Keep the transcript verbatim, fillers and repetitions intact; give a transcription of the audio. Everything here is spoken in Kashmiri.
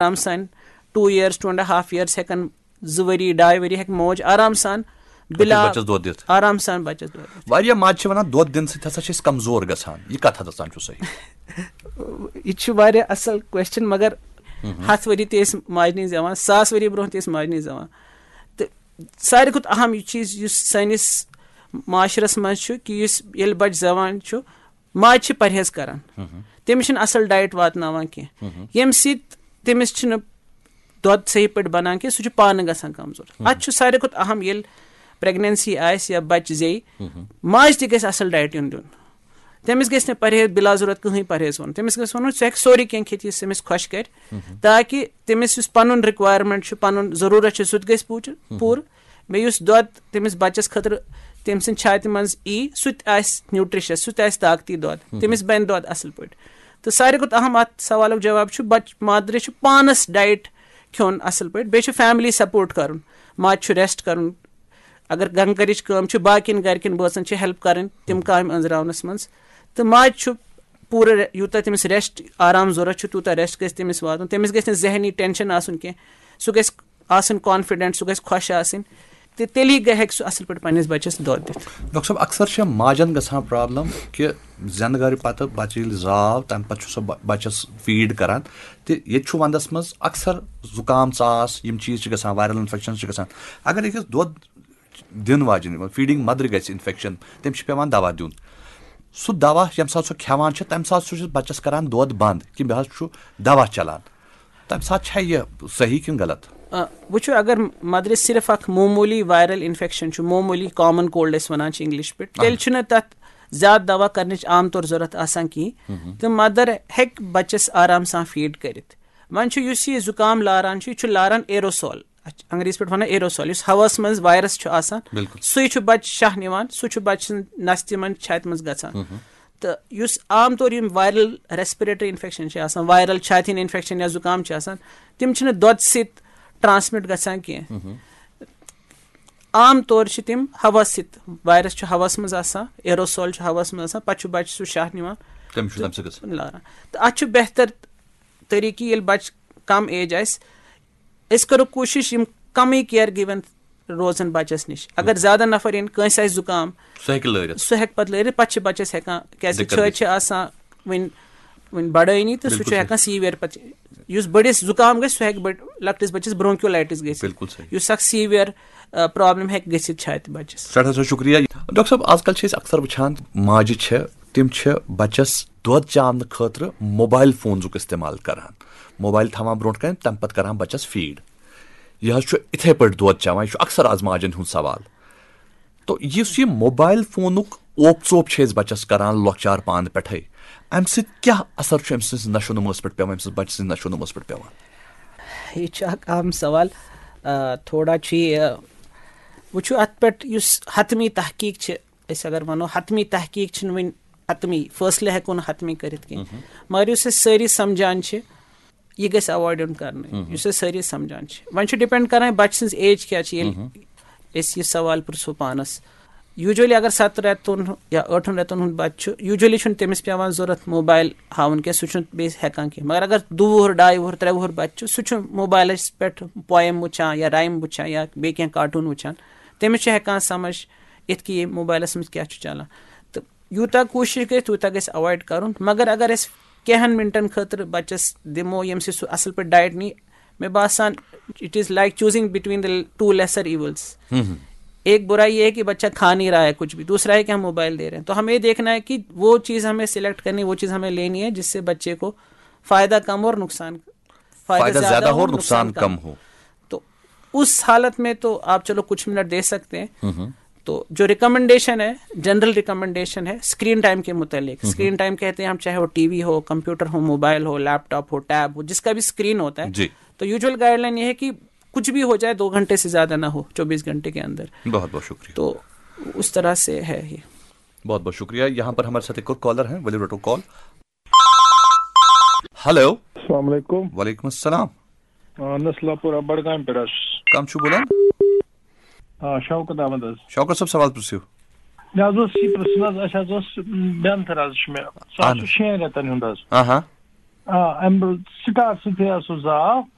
آرام سان، ٹوٗ ییئرس، ٹوٗ اینڈ ہاف ییئرس ہٮ۪کن، زٕ ؤری، ڈاے ؤری ہٮ۪کہِ موج آرام سان بِلا بَچَس دۄد دِتھ۔ آرام سان بَچَس دۄد دِتھ۔ واریاہ ماجہِ چھِ وَنان، دۄد دِنہٕ سۭتۍ ہسا چھِ أسۍ کمزور گژھان۔ یہِ کَتھ حدس تام چھُ صحیح؟ یہِ تہِ چھُ واریاہ اَصٕل کوسچن، مگر ہَتھ ؤری تہِ ٲسۍ ماجہِ نِش زٮ۪وان، ساس ؤری برونٛہہ تہِ ٲسۍ ماجہِ نِش زٮ۪وان۔ تہٕ ساروی کھۄتہٕ اَہَم یہِ چیٖز یُس سٲنِس معاشرَس منٛز چھُ، کہِ یُس ییٚلہِ بَچہٕ زٮ۪وان چھُ، ماجہِ چھِ پرہیز کران، تٔمِس چھِنہٕ اَصٕل ڈایٹ واتناوان کینٛہہ، ییٚمہِ سۭتۍ تٔمِس چھِنہٕ دۄد صحیح پٲٹھۍ بَنان کینٛہہ، سُہ چھُ پانہٕ گژھان کمزور۔ اَتھ چھُ ساروی کھۄتہٕ اَہَم، ییٚلہِ پریگننسی آسہِ یا بَچہٕ زیٚیہِ، ماجہِ تہِ گژھِ اَصٕل ڈایٹ یُن دیُن۔ تٔمِس گژھِ نہٕ پرہیز، بِلا ضروٗرت کٕہٕنۍ پرہیز وَنُن۔ تٔمِس گژھِ وَنُن، سُہ ہیٚکہِ سورُے کینٛہہ کھٮ۪تھ، یُس تٔمِس خۄش کرِ، تاکہِ تٔمِس یُس پَنُن رِکوایرمنٹ چھُ، پَنُن ضروٗرت چھُ، سُہ تہِ گژھِ پوٗچہِ-، پوٗرٕ۔ بیٚیہِ یُس دۄد تٔمِس بَچَس خٲطرٕ تٔمۍ سٕنٛدِ چھاتہِ منٛز یی، سُہ تہِ آسہِ نیوٗٹرِشَس، سُہ تہِ آسہِ طاقتی دۄد، تٔمِس بَنہِ دۄد اَصٕل پٲٹھۍ۔ تہٕ ساروی کھۄتہٕ اَہَم اَتھ سوالُک جواب چھُ، بَچہٕ، مادرِ چھُ پانَس ڈایٹ کھیوٚن اَصٕل پٲٹھۍ، بیٚیہِ چھُ فیملی سپورٹ کَرُن، ماجہِ چھُ ریسٹ کَرُن۔ اگر گَنٛگہٕ گَرِچ کٲم چھِ، باقیَن گَرِکٮ۪ن بٲژَن چھِ ہیلپ کَرٕنۍ تِم کامہِ أنٛزراونَس منٛز۔ تہٕ ماجہِ چھُ پوٗرٕ رے-، یوٗتاہ تٔمِس ریسٹ، آرام ضوٚرَتھ چھُ، تیوٗتاہ ریسٹ گژھِ تٔمِس واتُن۔ تٔمِس گژھِ نہٕ ذہنی ٹینشن آسُن کینٛہہ، سُہ گژھِ آسٕنۍ کانفیڈنٹ، سُہ گژھِ خۄش آسٕنۍ، تہٕ تیٚلی گٔے ہیٚکہِ سُہ اَصٕل پٲٹھۍ پنٛنِس بَچَس دۄد دِتھ۔ ڈاکٹر صٲب، اکثر چھِ ماجن گژھان پرابلم کہِ زینہٕ گرِ پتہٕ بچہٕ ییٚلہِ زاو، تمہِ پتہٕ چھُ سُہ بہ- بچس فیٖڈ کران، تہٕ ییٚتہِ چھُ ونٛدس منٛز اکثر زُکام، ژاس، یِم چیٖز چھِ گژھان، وایرل انفیکشن چھِ گژھان۔ اگر أکِس دۄد دِنہٕ واجیٚنۍ، فیٖڈنگ مدرِ گژھِ انفیکشن، تٔمِس چھُ پٮ۪وان دوا دیُن۔ سُہ دوا ییٚمہِ ساتہٕ سُہ کھٮ۪وان چھُ، تَمہِ ساتہٕ سُہ چھُ بَچَس کَران دۄد بنٛد کہِ مےٚ حظ چھُ دوا چَلان۔ تَمہِ ساتہٕ چھا یہِ صحیح کِنہٕ غلط؟ آ، وٕچھِو، اگر مدرِ صرف اکھ معموٗلی وائرل انفیکشن چھُ، معموٗلی کامن کولڈ أسۍ وَنان چھِ انگلش پٲٹھۍ، تیٚلہِ چھُنہٕ تَتھ زیادٕ دوا کرنٕچ عام طور ضوٚرتھ آسان کِہیٖنۍ۔ تہٕ مدر ہیٚکہِ بَچَس آرام سان فیٖڈ کٔرِتھ۔ وۄنۍ چھُ یُس یہِ زُکام لاران چھُ، یہِ چھُ لاران ایروسول، اَتھ چھِ انگریٖزی پٲٹھۍ وَنان ایروسول، یُس ہوَس منٛز وایرس چھُ آسان، بِلکُل۔ سُے چھُ بَچہٕ شاہ نِوان، سُہ چھُ بَچہٕ سٕنٛز نَستہِ منٛز، چھاتہِ منٛز گژھان۔ تہٕ یُس عام طور یِم وائرل ریسپریٹری انفیکشن چھِ آسان، وائرل چھاتہِ ہِنٛدۍ انفیکشن یا زُکام چھِ آسان، تِم چھِنہٕ دۄدٕ سۭتۍ ٹرانسمٹ گژھان کینٛہہ۔ عام طور چھِ تِم ہوا سۭتۍ، وائرس چھُ ہوَس منٛز آسان، ایروسول چھُ ہوَس منٛز آسان، پَتہٕ چھُ بَچہٕ سُہ شاہ نِوان، تٔمِس چھُ تَمہِ سۭتۍ گژھان۔ لاران۔ تہٕ اَتھ چھُ بہتر طریٖقہٕ، ییٚلہِ بَچہٕ کم ایج آسہِ، أسۍ کَرو کوٗشِش یِم کَمٕے کِیر گِوَن روزَن بَچَس نِش۔ اگر زیادٕ نفر یِن، کٲنٛسہِ آسہِ زُکام، سُہ ہیٚکہِ لٲرِتھ۔ سُہ ہیٚکہِ پَتہٕ لٲرِتھ، پَتہٕ چھِ بَچَس ہٮ۪کان، کیٛازِ دِقت چھٲتۍ گٔژھِتھ۔ چھِ آسان وٕنہِ وٕنہِ بَڑٲنی، تہٕ سُہ بِلکُل چھُ صحیح۔ ہٮ۪کان سیٖوِیَر پَتہٕ، یُس بٔڑِس زُکام گژھِ، سُہ ہیٚکہِ بٔڑ-، لۄکٹِس بَچَس برونکیولیٹس گٔژھِتھ۔ بِلکُل صحیح۔ یُس اَکھ سیٖوِیَر پرابلم ہیٚکہِ گٔژھِتھ چھاتہِ بَچَس۔ سٮ۪ٹھاہ سٮ۪ٹھاہ شُکریہ۔ ڈاکٹر صٲب، آز کل چھِ أسۍ اکثر وٕچھان، ماجہِ چھِ، تِم چھِ بَچَس دۄد چاونہٕ خٲطرٕ موبایل فونُک استعمال کران۔ موبایل تھاوان برونٛٹھ کَنہِ، تَمہِ پَتہٕ کران بَچَس فیٖڈ۔ یہِ حظ چھُ اِتھَے پٲٹھۍ دۄد چاوان، یہِ چھُ اکثر آز ماجن ہُنٛد سوال۔ تو یُس یہِ موبایل فونُک اوپ ژوپ چھِ أسۍ بَچَس کران لۄکچار پانہٕ پٮ۪ٹھَے، اَمہِ سۭتۍ کیٛاہ اثر چھُ أمۍ سٕنٛز نشو نموَس پٮ۪ٹھ پٮ۪وان، أمۍ سٕنٛز بَچہٕ سٕنٛز نشو نموَس پٮ۪ٹھ پٮ۪وان؟ یہِ چھُ اکھ اہم سوال۔ آ، تھوڑا چھُ یہِ، وٕچھِو، اَتھ پٮ۪ٹھ یُس حتمی تحقیٖق چھِ، أسۍ اگر وَنو، حتمی تحقیٖق چھِنہٕ وٕنہِ حتمی، فٲصلہٕ ہٮ۪کو نہٕ حتمی کٔرِتھ کینٛہہ۔ مگر یُس أسۍ سٲری سمجھان چھِ، یہِ گژھِ ایوایڈ یُن کرنہٕ، یُس أسۍ سٲری سمجھان چھِ۔ وۄنۍ چھُ ڈِپینڈ کران بَچہٕ سٕنٛز ایج کیٛاہ چھِ، ییٚلہِ أسۍ یہِ سوال پرٛژھو پانَس۔ یوٗجؤلی اگر سَتہٕ رٮ۪تُن یا ٲٹھَن رٮ۪تَن ہُنٛد بَچہٕ چھُ، یوٗجؤلی چھُنہٕ تٔمِس پٮ۪وان ضوٚرَتھ موبایل ہاوُن کینٛہہ، سُہ چھُنہٕ بیٚیہِ ہٮ۪کان کینٛہہ۔ مگر اگر دُ وُہُر، ڈاے وُہُر، ترٛےٚ وُہُر بَچہٕ چھُ، سُہ چھُ موبایلَس پٮ۪ٹھ پویم وٕچھان یا رایِم وٕچھان یا بیٚیہِ کینٛہہ کارٹوٗن وٕچھان، تٔمِس چھُ ہٮ۪کان سمجھ یِتھ کہِ یہِ موبایلَس منٛز کیٛاہ چھُ چَلان۔ تہٕ یوٗتاہ کوٗشِش گژھِ، تیوٗتاہ گژھِ ایوایڈ کَرُن۔ مگر اگر أسۍ کینٛہَن مِنٹَن خٲطرٕ بَچَس دِمو، ییٚمہِ سۭتۍ سُہ اَصٕل پٲٹھۍ ڈایٹ نی، مےٚ باسان، it is like choosing between the two lesser evils۔ ایک برا یہ ہے کہ بچہ کھا نہیں رہا ہے کچھ بھی، دوسرا ہے کہ ہم موبائل دے رہے ہیں۔ تو ہمیں یہ دیکھنا ہے کہ وہ چیز ہمیں سلیکٹ کرنی، وہ چیز ہمیں لینی ہے جس سے بچے کو فائدہ کم اور نقصان، فائدہ زیادہ ہو اور نقصان کم ہو۔ تو اس حالت میں تو آپ چلو کچھ منٹ دے سکتے ہیں۔ تو جو ریکمنڈیشن ہے، جنرل ریکمنڈیشن ہے اسکرین ٹائم کے متعلق۔ اسکرین ٹائم کہتے ہیں ہم، چاہے وہ ٹی وی ہو، کمپیوٹر ہو، موبائل ہو، لیپ ٹاپ ہو، ٹیب ہو، جس کا بھی اسکرین ہوتا ہے۔ جی۔ تو یوجول گائیڈ لائن یہ ہے کہ کچھ بھی ہو جائے، دو گھنٹے سے زیادہ نہ ہو چوبیس گھنٹے کے اندر۔ بہت بہت شکریہ۔ تو اس طرح سے ہے یہ۔ بہت بہت شکریہ۔ یہاں پر ہمارے ساتھ ایک اور کالر ہیں، ؤلِو رٹو کال۔ ہیلو۔ السلام علیکم۔ وعلیکم السلام۔ آ، نسلہ پورہ بڈگامہِ پٮ۪ٹھ حظ۔ کم چھُو بولان؟ آ، شوکت احمد حظ۔ شوکت صٲب، سوال پرٛژھِو۔ مےٚ حظ اوس یہِ پرٛژھُن حظ، اَسہِ حظ اوس، م، بینتھٕر حظ چھُ مےٚ، سُہ حظ اہن چھُ حظ۔ شٮ۪ن رٮ۪تن ہُنٛد حظ۔ آ ہا۔ آ، امہِ سٹار سۭتۍ ہسا زاو۔